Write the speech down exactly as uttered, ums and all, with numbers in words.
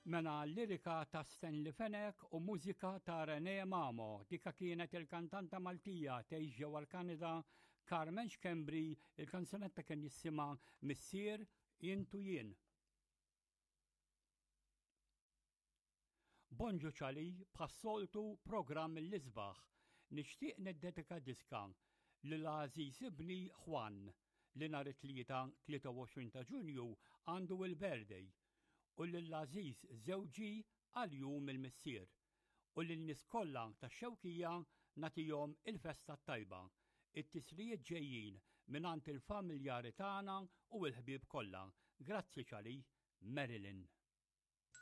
Mela lirika ta' Stanley Fenech u mużika ta' René Mamo. Dika kienet il-kantanta Maltija tgħix ġewwa l-Kanada Carmen Schembri, il-kanzunetta kien jisimha Missier Int u Jien. Bonġu ċali, bħas-soltu programm l-isbaħ. Nixtieq niddedika diska lil għażiż ibni Juan li nhar it-Tlieta tlieta u għoxrin ta' Ġunju għandu il-birthday u lill-għażiż żewġi għal Jum il-Missier u lin-nies kollha tax-Xewkija nagħtihom il-festa t-tajba. It-tislijiet ġejjin mingħand il-familjari tagħna u l-ħbieb kollha. Grazzi ċali, Marilyn.